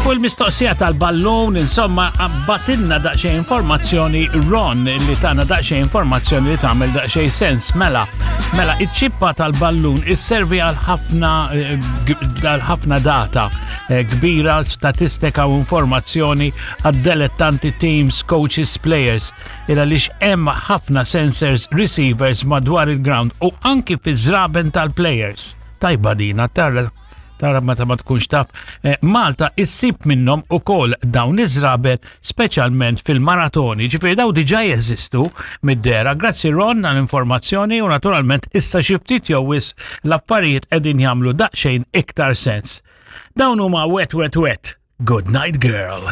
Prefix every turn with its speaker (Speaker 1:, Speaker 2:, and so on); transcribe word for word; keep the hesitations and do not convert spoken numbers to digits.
Speaker 1: Fuq il-mistoqsija tal-ballun, insomma, bagħtilna daqsxejn informazzjoni Ron li tana daqsxejn informazzjoni li tagħmel daqsxejn sens. Mela, mela, iċ-ċippa tal-ballun isservi għal ħafna eh, għal ħafna data eh, kbira, statistika u informazzjoni għad-dilettanti teams, coaches, players. Il għaliex hemm ħafna sensors, receivers madwar il-ground u anki fi żraben tal-players. Tajba dina, tara tara meta ma tkunx taf. Eh, Malta issib minnhom ukoll dawn iż-żraben speċjalment fil-maratoni, ġifieri daw diġà jeżistu mid-dehra. Grazzi Ron għall-informazzjoni u naturalment issa xi ftit jew wisq l-affarijiet qegħdin jagħmlu daqsxejn iktar sens. Dawn huma Wet Wet Wet. Good night girl.